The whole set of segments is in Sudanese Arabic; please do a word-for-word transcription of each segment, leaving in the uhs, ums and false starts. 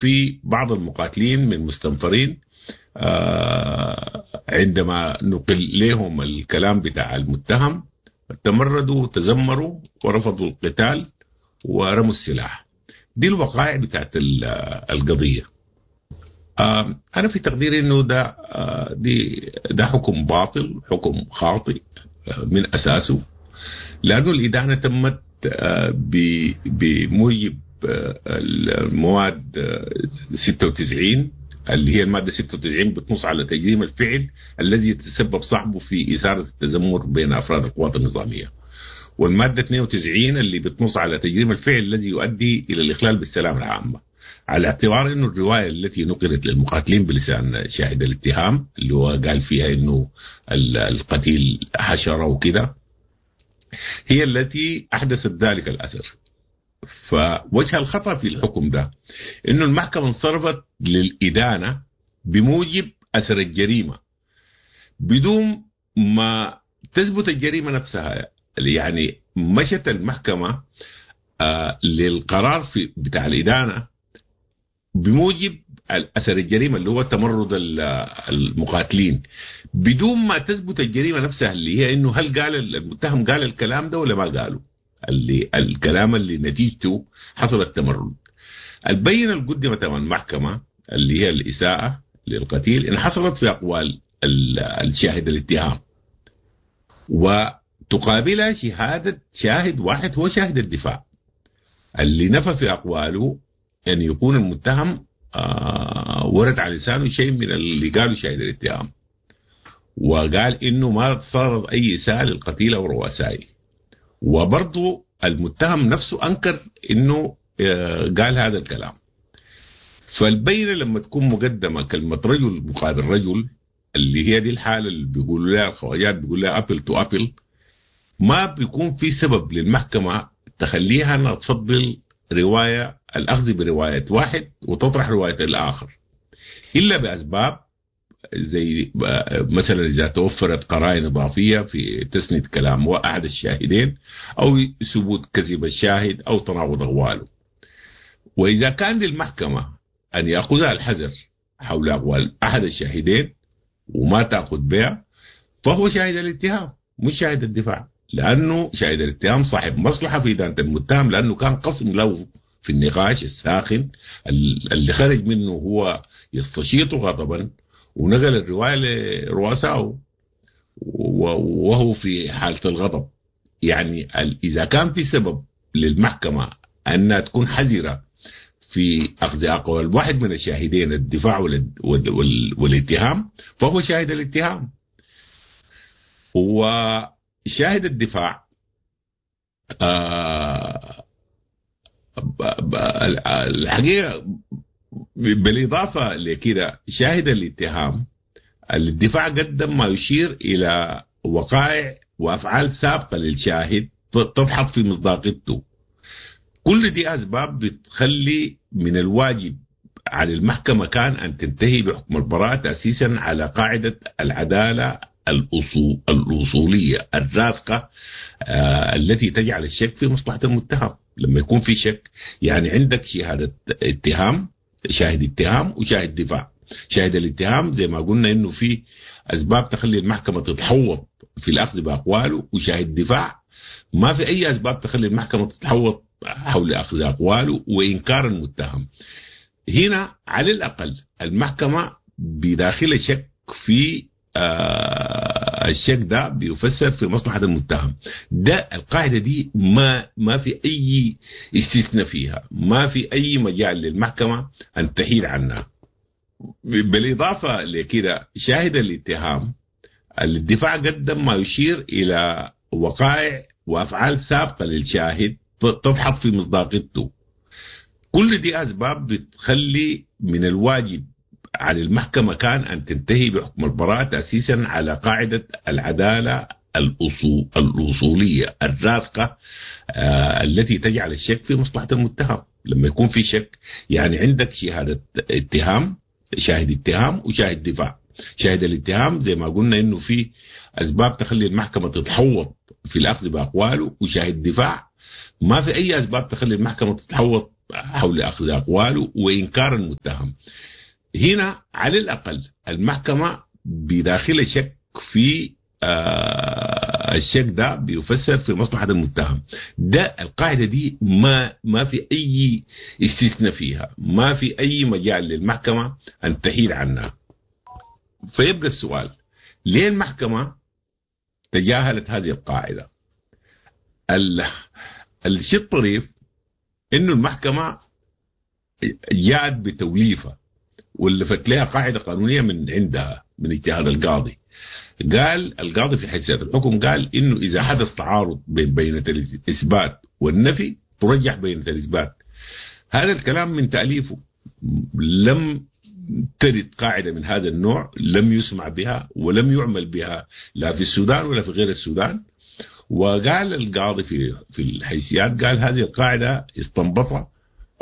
في بعض المقاتلين من مستنفرين عندما نقل لهم الكلام بتاع المتهم تمردوا وتذمروا ورفضوا القتال ورموا السلاح. دي الوقائع بتاعت القضية. أنا في تقديري إنه ده دي ده حكم باطل، حكم خاطئ من أساسه، لأنه الإدانة تمت بموجب المواد ستة وتسعين اللي هي المادة ستة وتسعين بتنص على تجريم الفعل الذي يتسبب صاحبه في إثارة التذمر بين أفراد القوات النظامية، والمادة اثنين وتسعين اللي بتنص على تجريم الفعل الذي يؤدي إلى الإخلال بالسلام العامة، على اعتبار أنه الرواية التي نقلت للمقاتلين بلسان شاهد الاتهام اللي هو قال فيها أنه القتيل حشرة وكده هي التي أحدثت ذلك الأثر. فوجه الخطأ في الحكم ده أنه المحكمة انصرفت للإدانة بموجب أثر الجريمة بدون ما تثبت الجريمة نفسها. يعني مشت المحكمة آه للقرار في بتاع الإدانة بموجب أثر الجريمة اللي هو تمرد المقاتلين بدون ما تثبت الجريمة نفسها اللي هي إنه هل قال المتهم قال الكلام ده ولا ما قاله، اللي الكلام اللي نتيجته حصل التمرد. البينة اللي قدمت أمام المحكمة اللي هي الإساءة للقتيل إن حصلت في أقوال الشاهد الاتهام، وتقابلها شهادة شاهد واحد هو شاهد الدفاع اللي نفى في أقواله أن يكون المتهم آه ورد على لسانه شيء من اللي قاله شاهد الاتهام، وقال إنه ما صارت أي إساءة للقتيل أو رؤسائه. وبرضه المتهم نفسه أنكر إنه آه قال هذا الكلام. فالبينة لما تكون مقدمة كلمة رجل مقابل رجل اللي هي دي الحالة اللي بيقولوا لها الخواجات بيقولوا لها apple to apple، ما بيكون في سبب للمحكمة تخليها أنها تفضل رواية الأخذ برواية واحد وتطرح رواية الآخر، إلا بأسباب زي مثلا إذا توفرت قرائن إضافية في تسند كلام أحد الشاهدين أو ثبوت كذب الشاهد أو تناقض أقواله. وإذا كان للمحكمة أن يأخذها الحذر حول أقوال أحد الشاهدين وما تأخذ بها فهو شاهد الاتهام مش شاهد الدفاع، لأنه شاهد الاتهام صاحب مصلحة في إدانة المتهم، لأنه كان قسم له في النقاش الساخن اللي خرج منه هو يستشيط غضبا ونقل الرواية لرؤسائه وهو في حالة الغضب. يعني إذا كان في سبب للمحكمة أنها تكون حذرة في أخذ أقوال واحد من الشاهدين الدفاع والاتهام فهو شاهد الاتهام. وشاهد الدفاع آه الحقيقة بالإضافة لكده شاهد الاتهام الدفاع قدم ما يشير إلى وقائع وأفعال سابقة للشاهد تضحك في مصداقيته. كل دي أسباب بتخلي من الواجب على المحكمة كان أن تنتهي بحكم البراءة تأسيسا على قاعدة العدالة الأصولية الراسخة آه التي تجعل الشك في مصلحة المتهم. لما يكون في شك يعني عندك شهادة اتهام، شاهد اتهام وشاهد دفاع. شاهد الاتهام زي ما قلنا انه في اسباب تخلي المحكمة تتحوط في الاخذ باقواله، وشاهد دفاع ما في اي اسباب تخلي المحكمة تتحوط حول اخذ اقواله وانكار المتهم. هنا على الاقل المحكمة بداخل شك في آه الشك ده بيفسر في مصلحة المتهم. ده القاعدة دي ما ما في أي استثناء فيها، ما في أي مجال للمحكمة أن تحيل عنها. بالإضافة لكده شاهد الاتهام الدفاع قدم ما يشير إلى وقائع وأفعال سابقة للشاهد تضحك في مصداقيته. كل دي أسباب بتخلي من الواجب على المحكمة كان أن تنتهي بحكم البراءة تأسيسا على قاعدة العدالة الأصولية الراسخة آه التي تجعل الشك في مصلحة المتهم. لما يكون في شك يعني عندك شهادة اتهام، شاهد اتهام وشاهد دفاع. شاهد الاتهام زي ما قلنا انه في اسباب تخلي المحكمة تتحوط في الاخذ باقواله، وشاهد دفاع ما في اي اسباب تخلي المحكمة تتحوط حول أخذ أقواله وإنكار المتهم. هنا على الأقل المحكمة بداخل شك في آه الشك ده بيفسر في مصلحة المتهم. ده القاعدة دي ما ما في أي استثناء فيها، ما في أي مجال للمحكمة أن تحيد عنها. فيبقى السؤال، ليه المحكمة تجاهلت هذه القاعدة؟ الشيء الطريف إنه المحكمة جاءت بتوليفة ولفت لها قاعدة قانونية من عندها من اجتهاد القاضي. قال القاضي في حيثيات الحكم، قال إنه إذا حدث تعارض بين بينة الإثبات والنفي ترجح بينة الإثبات. هذا الكلام من تأليفه، لم ترد قاعدة من هذا النوع، لم يسمع بها ولم يعمل بها لا في السودان ولا في غير السودان. وقال القاضي في في الحيثيات، قال هذه القاعدة استنبطها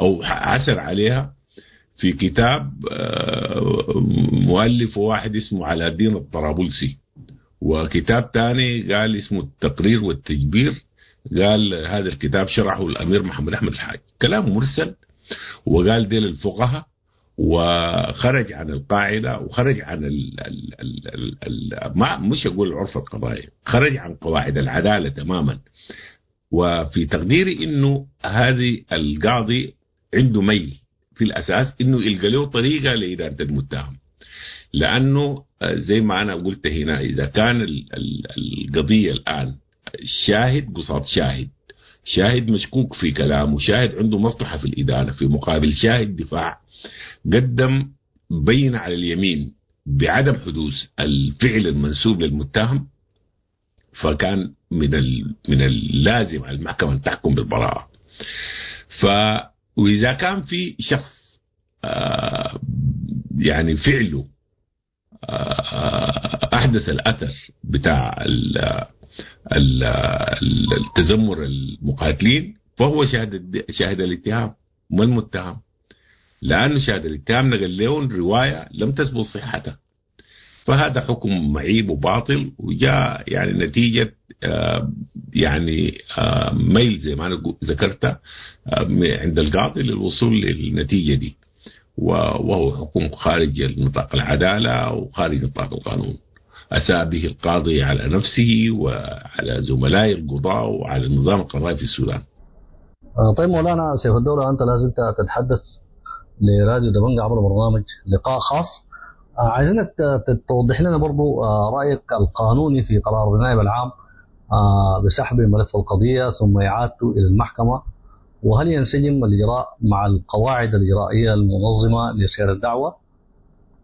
أو عثر عليها في كتاب مؤلف واحد اسمه علاء الدين الطرابلسي، وكتاب تاني قال اسمه التقرير والتجبير، قال هذا الكتاب شرحه الأمير محمد أحمد الحاج. كلام مرسل، وقال ديل الفقهاء، وخرج عن القاعدة وخرج عن ال ال ال ال ال ما مش أقول العرف القضائي، خرج عن قواعد العدالة تماما. وفي تقديري إنه هذه القاضي عنده ميل في الأساس إنه يلقى له طريقة لإدانة المتهم، لأنه زي ما أنا قلت هنا، إذا كان القضية الآن شاهد قصاد شاهد، شاهد مشكوك في كلامه، شاهد عنده مصلحة في الإدانة، في مقابل شاهد دفاع قدم بين على اليمين بعدم حدوث الفعل المنسوب للمتهم، فكان من من اللازم على المحكمة أن تحكم بالبراءة. ف وإذا كان في شخص آه يعني فعله آه أحدث الأثر بتاع ال ال التذمر المقاتلين، فهو شاهد شاهد الاتهام ما المتهم، لأنه شاهد الاتهام نقل لهم رواية لم تثبت صحتها. فهذا حكم معيب وباطل، وجاء يعني نتيجة آه يعني آه ميل زي ما أنا ذكرت آه عند القاضي للوصول للنتيجة دي، وهو حكم خارج نطاق العدالة وخارج نطاق القانون. أساء به القاضي على نفسه وعلى زملائه القضاء وعلى النظام القضائي في السودان. طيب مولانا سيف الدولة، أنت لازلت تتحدث لراديو دبنجة عبر برنامج لقاء خاص. عايزينك توضح لنا برضو رأيك القانوني في قرار النائب العام بسحب ملف القضية ثم إعادته إلى المحكمة، وهل ينسجم الإجراء مع القواعد الإجرائية المنظمة لسير الدعوة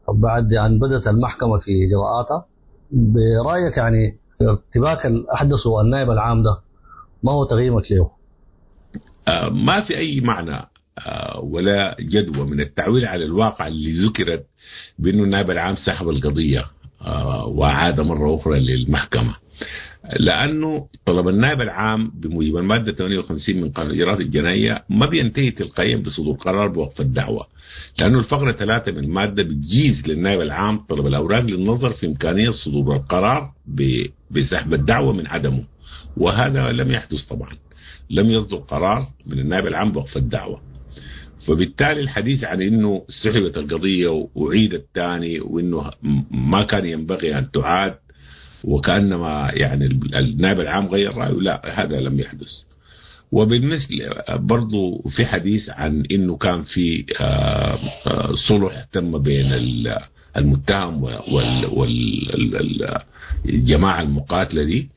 بعد أن بدأت المحكمة في إجراءاتها؟ برأيك يعني ارتباك الأحدث النائب العام ده ما هو تقييمك له؟ ما في أي معنى ولا جدوى من التعويل على الواقع اللي ذكرت بأنه النائب العام سحب القضية وعاد مرة أخرى للمحكمة، لأنه طلب النائب العام بموجب المادة ثمانية وخمسين من قانون الإجراءات الجنائية ما بينتهي تلقائيا بصدور قرار بوقف الدعوة، لأنه الفقرة ثلاثة من المادة بتجيز للنائب العام طلب الأوراق للنظر في إمكانية صدور القرار بسحب الدعوة من عدمه، وهذا لم يحدث طبعا، لم يصدر قرار من النائب العام بوقف الدعوة. فبالتالي الحديث عن انه سحبت القضية وعيدت ثاني وانه ما كان ينبغي ان تعاد وكانما يعني النائب العام غير رايه، لا، هذا لم يحدث. وبالمثل برضو في حديث عن انه كان في صلح تم بين المتهم والجماعة المقاتلة دي،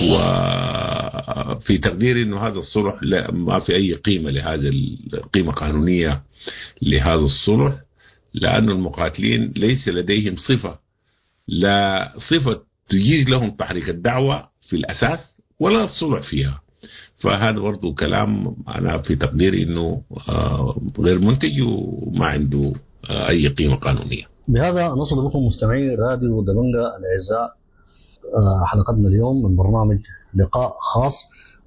وفي تقديري انه هذا الصلح لا، ما في اي قيمة لهذا، قيمة قانونية لهذا الصلح، لأن المقاتلين ليس لديهم صفة، لا صفة تجيز لهم تحريك الدعوة في الأساس ولا الصلح فيها. فهذا برضو كلام أنا في تقديري أنه غير منتج وما عنده أي قيمة قانونية. بهذا نصل بكم مستمعي راديو دبنجة الأعزاء حلقتنا اليوم من برنامج لقاء خاص،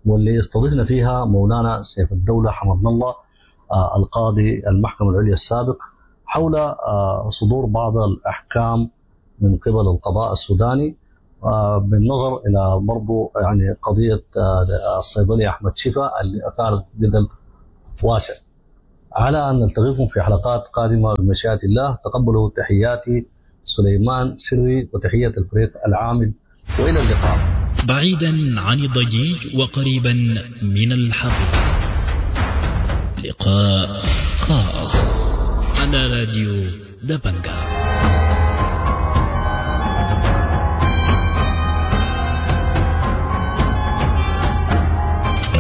واللي استضفنا فيها مولانا سيف الدولة حمد الله القاضي المحكمة العليا السابق حول صدور بعض الأحكام من قبل القضاء السوداني بالنظر إلى برضو يعني قضية الصيدلي أحمد شفا اللي أثارت جدل واسع. على أن نلتقيكم في حلقات قادمة بمشيئة الله. تقبلوا تحياتي سليمان سري وتحية الفريق العامل، وإلى اللقاء. بعيدا عن الضجيج وقريبا من الحقيقة، لقاء خاص على راديو دبنجا.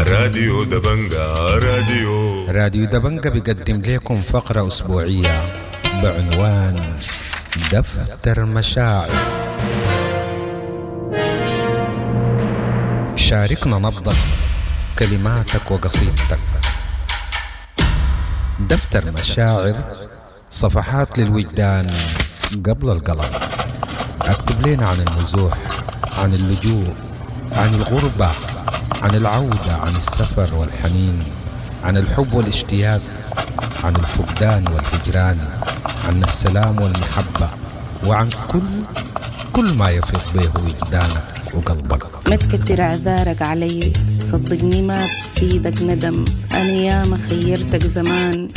راديو دبنجا، راديو راديو دبنجا بيقدم لكم فقرة أسبوعية بعنوان دفتر مشاعر. شاركنا نبضك، كلماتك وقصيدتك. دفتر مشاعر، صفحات للوجدان قبل القلم. اكتب لنا عن النزوح، عن اللجوء، عن الغربة، عن العودة، عن السفر والحنين، عن الحب والاشتياق، عن الفقدان والهجران، عن السلام والمحبة، وعن كل كل ما يفيض به وجدانك وقلبك. ما تكتر اعذارك علي، صدقني ما بفيدك ندم. انا ياما خيرتك زمان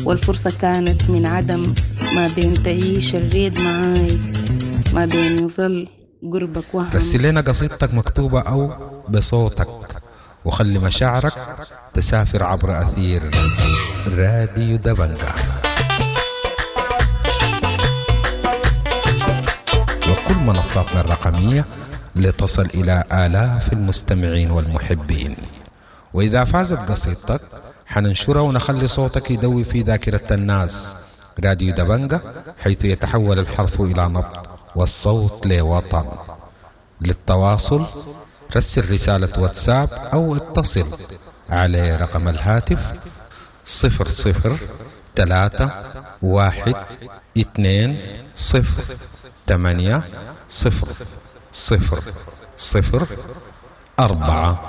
والفرصة كانت من عدم. ما بين تعيش الريد معاي، ما بين يظل قربك وهم. رسل لنا قصيدتك مكتوبة أو بصوتك، وخلي مشاعرك تسافر عبر أثير راديو دبنجا وكل منصاتنا الرقمية لتصل إلى آلاف المستمعين والمحبين. وإذا فازت قصيدتك حننشرها ونخلي صوتك يدوي في ذاكرة الناس. راديو دبنجا، حيث يتحول الحرف إلى نبض والصوت لوطن. للتواصل رسل رسالة واتساب أو اتصل على رقم الهاتف صفر صفر ثلاثة واحد اثنين صفر ثمانية صفر صفر صفر أربعة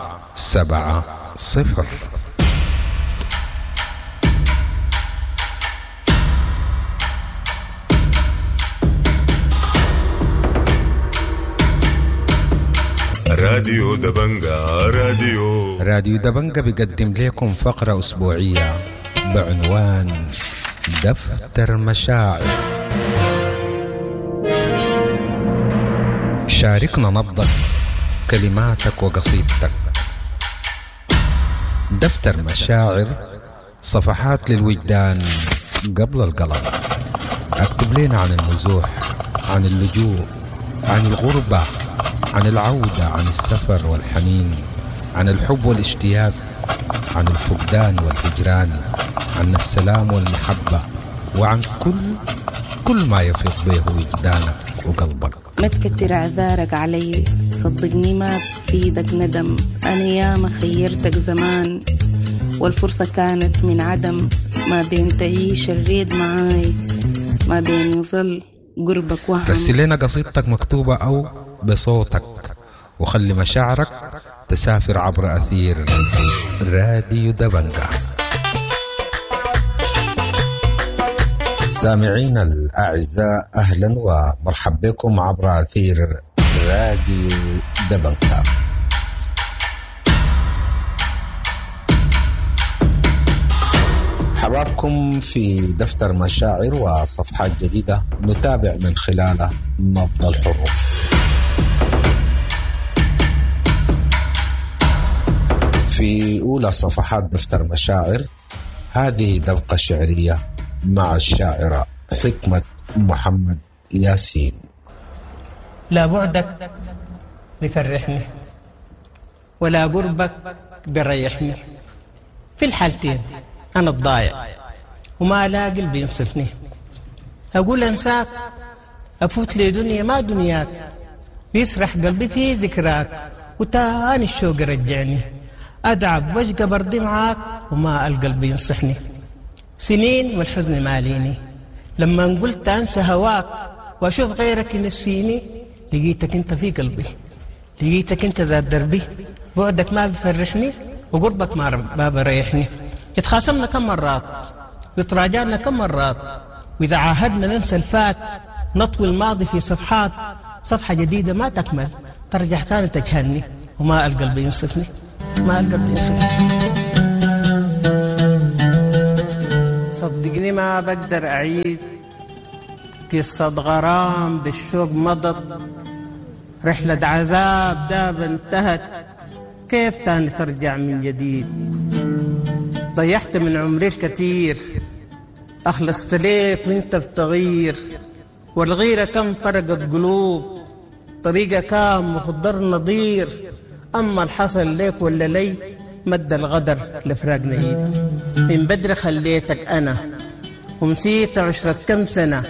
سبعة صفر. راديو دبنجا، راديو راديو دبنجا بيقدم لكم فقرة أسبوعية بعنوان دفتر مشاعر. شاركنا نبضك، كلماتك وقصيدتك. دفتر مشاعر، صفحات للوجدان قبل القلم. اكتب لنا عن النزوح، عن اللجوء، عن الغربة، عن العودة، عن السفر والحنين، عن الحب والاشتياق، عن الفقدان والهجران، عن السلام والمحبة، وعن كل كل ما يفيض به وجدانك وقلبك. ما تكتر اعذارك علي، صدقني ما بفيدك ندم. انا ياما خيرتك زمان والفرصة كانت من عدم. ما بين تعيش الريد معاي، ما بين يظل قربك وهم. رسل لنا قصيدتك مكتوبة أو بصوتك، وخلي مشاعرك تسافر عبر أثير راديو دبنجا. سامعين الأعزاء، أهلا ومرحبا بكم عبر أثير راديو دبنجا. حبابكم في دفتر مشاعر وصفحات جديدة نتابع من خلالها نبض الحروف. في أولى صفحات دفتر مشاعر هذه دبقة شعرية مع الشاعرة حكمة محمد ياسين. لا بعدك بفرحني ولا قربك بريحني، في الحالتين أنا الضايع وما لاقي اللي بينصفني. أقول أنساك أفوت لي دنيا ما دنياك، بيسرح قلبي في ذكراك وتاني الشوق رجعني. أدعب واشقى برضي معاك وما ألقى اللي بينصحني. سنين والحزن ماليني، لما قلت أنسى هواك وأشوف غيرك ينسيني، لقيتك أنت في قلبي، لقيتك أنت ذات دربي. بعدك ما بفرحني وقربك ما ما بريحني. اتخاصمنا كم مرات وتراجعنا كم مرات، وإذا عاهدنا ننسى الفات، نطوي الماضي في صفحات، صفحة جديدة ما تكمل ترجع ثاني تجهلني، وما ألقى اللي بينصفني، ما ألقى اللي بينصفني. صدقني ما بقدر أعيد قصة غرام بالشوق مضت، رحلة عذاب داب انتهت، كيف تاني ترجع من جديد؟ ضيعت من عمري الكثير، أخلصت ليك وانت بتغير، والغيرة كم فرقت قلوب، طريقة كام مخضر نضير، أما الحصل ليك ولا لي مد الغدر لفراقنا عيد. من بدري خليتك أنا ومسيت عشرة كم سنة،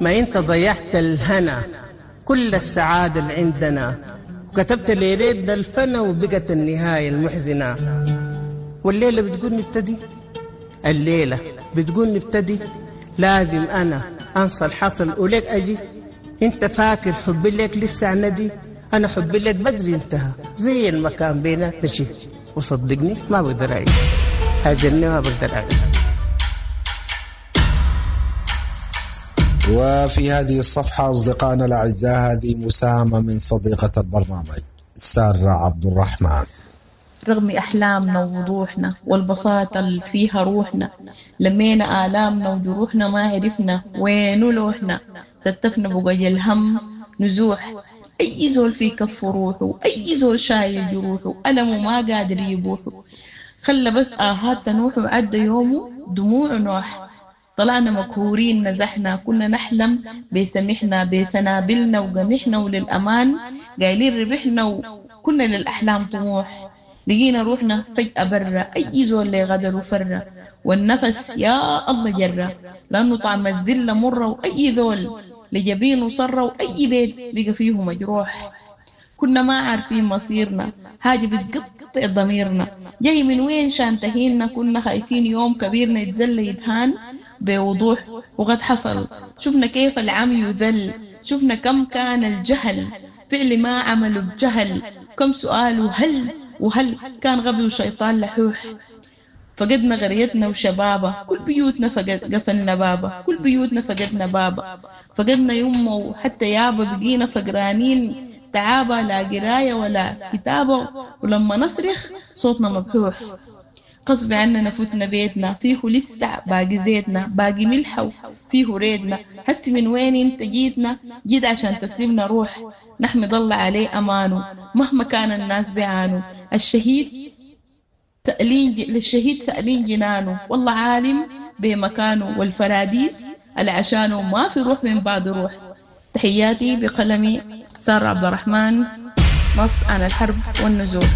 ما انت ضيعت الهنا كل السعادة اللي عندنا، وكتبت ليلتنا الفنا وبقت النهاية المحزنة. والليلة بتقول نبتدي، الليلة بتقول نبتدي، لازم أنا أنسى الحصل وليك أجي. انت فاكر حبي لك لسه عندي، أنا حبي لك بدري انتهى زي المكان بيناتنا شيء، وصدقني ما بقدر أعيش، هاجرني ما بقدر أعيش. وفي هذه الصفحة أصدقائنا الأعزاء هذه مساهمة من صديقة البرنامج سارة عبد الرحمن. رغم أحلامنا ووضوحنا والبساطة اللي فيها روحنا، لمينا آلامنا وجروحنا ما عرفنا وين لوحنا، ستفنا بقي الهم نزوح، أي زول في كف روحه، أي زول شايل جروحه، ألمه ما قادر يبوحه، خلى بس آهات تنوح وعدى يومه دموع نوح. طلعنا مكهورين نزحنا، كنا نحلم بسمحنا بسنابلنا وقمحنا، وللأمان قايلين ربحنا وكنا للأحلام طموح. لقينا روحنا فجأة برا، أي زول لي غدر وفرة، والنفس يا الله جرة، لأنه طعم الذلة مرة، وأي ذول لجبينه صرة، وأي بيت بقى فيه مجروح. كنا ما عارفين مصيرنا، حاجة بتقطع ضميرنا، جاي من وين شان تهينا، كنا خايفين يوم كبيرنا يتزل يدهان بوضوح، وقد حصل. شفنا كيف العم يذل، شفنا كم كان الجهل فعل ما عملوا بجهل، كم سؤال وهل وهل كان غبي وشيطان لحوح. فقدنا غريتنا وشبابا، كل بيوتنا فقد قفلنا بابا، كل بيوتنا فقدنا بابا، فقدنا يمه وحتى يابا، بقينا فقرانين تعابة، لا قراية ولا كتابة، ولما نصرخ صوتنا مبحوح. غصب عننا فتنا بيتنا فيه لسه باقي زيتنا، باقي ملحه فيه ريدنا، هسي من وين انت جيتنا، جيت عشان تسلمنا روح، نحمد الله عليه أمانه مهما كان الناس بيعانوا، الشهيد سألين للشهيد سألين جنانه، والله عالم بمكانه، والفراديس العشانه ما في روح من بعد روح. تحياتي بقلمي سارة عبد الرحمن، نص عن الحرب والنزوح.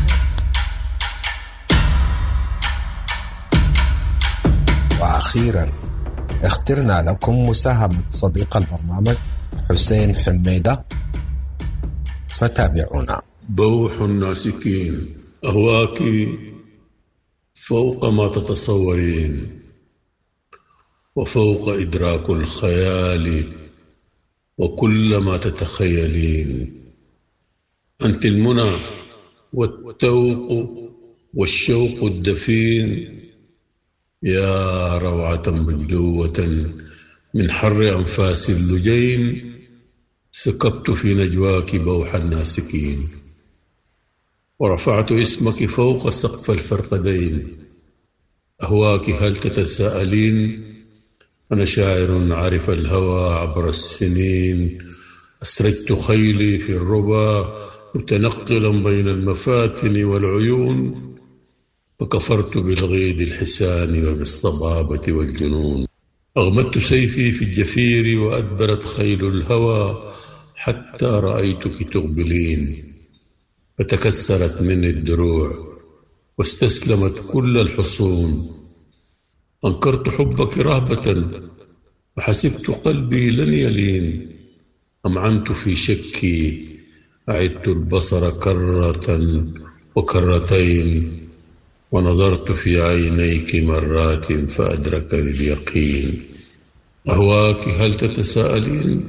وأخيرا اخترنا لكم مساهمة صديق البرنامج حسين حميدة، فتابعونا. بوح الناسكين، أهواك فوق ما تتصورين، وفوق إدراك الخيال وكل ما تتخيلين. أنت المنى والتوق والشوق الدفين، يا روعة مجلوة من حر أنفاس اللجين، سكبت في نجواك بوح الناسكين، ورفعت اسمك فوق سقف الفرقدين. أهواك هل تتساءلين؟ أنا شاعر عرف الهوى عبر السنين، أسرجت خيلي في الربا متنقلا بين المفاتن والعيون، وكفرت بالغيد الحسان وبالصبابة والجنون. أغمدت سيفي في الجفير وأدبرت خيل الهوى حتى رأيتك تقبلين، فتكسرت مني الدروع واستسلمت كل الحصون. أنكرت حبك رهبة وحسبت قلبي لن يلين، أمعنت في شكي أعدت البصر كرة وكرتين، ونظرت في عينيك مرات فأدركني اليقين. أهواك هل تتساءلين؟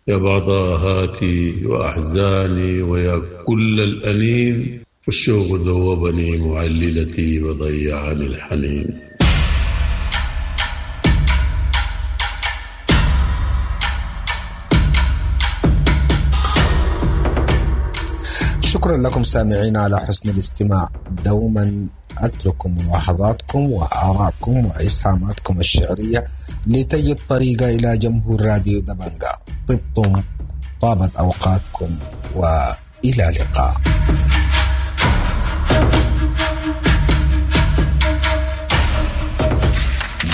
يا بعض آهاتي وأحزاني ويا كل الأنين، فالشوق ذوبني معللتي وضيعني الحنين. شكرا لكم سامعين على حسن الاستماع. دوما وأتركوا ملاحظاتكم وآراءكم وإسهاماتكم الشعرية لتجد طريقة إلى جمهور راديو دبنجا. طبتم، طابت أوقاتكم، وإلى اللقاء.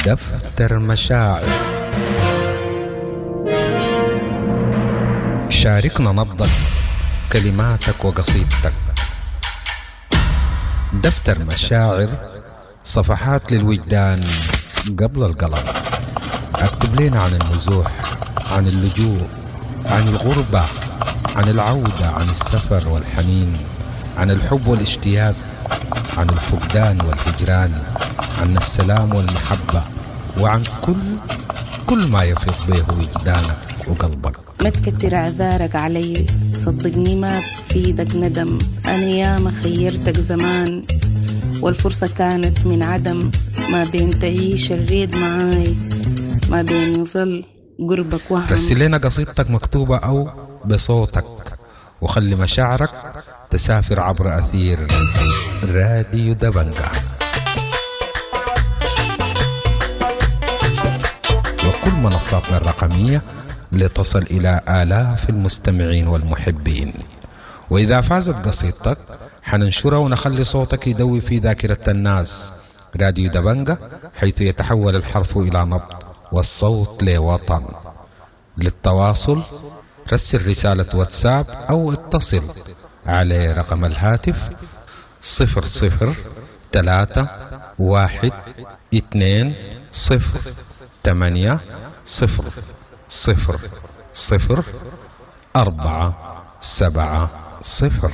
دفتر مشاعر. شاركنا نبضك، كلماتك وقصيدتك. دفتر مشاعر، صفحات للوجدان قبل القلم. اكتب لنا عن النزوح، عن اللجوء، عن الغربة، عن العودة، عن السفر والحنين، عن الحب والاشتياق، عن الفقدان والهجران، عن السلام والمحبة، وعن كل كل ما يفيض به وجدانك وقلبك. ما تكتر اعذارك علي، صدقني ما بفيدك ندم. انا ياما خيرتك زمان والفرصة كانت من عدم. ما بين تعيش الريد معاي، ما بين يظل قربك وهم. رسل لنا قصيدتك مكتوبة أو بصوتك، وخلي مشاعرك تسافر عبر أثير راديو دبنجا وكل منصاتنا الرقمية لتصل إلى آلاف المستمعين والمحبين. وإذا فازت قصيدتك حننشرها ونخلي صوتك يدوي في ذاكرة الناس. راديو دبنجا، حيث يتحول الحرف إلى نبض والصوت لوطن. للتواصل رسل رسالة واتساب أو اتصل على رقم الهاتف صفر صفر ثلاثة واحد اثنين صفر ثمانية صفر صفر صفر أربعة سبعة صفر.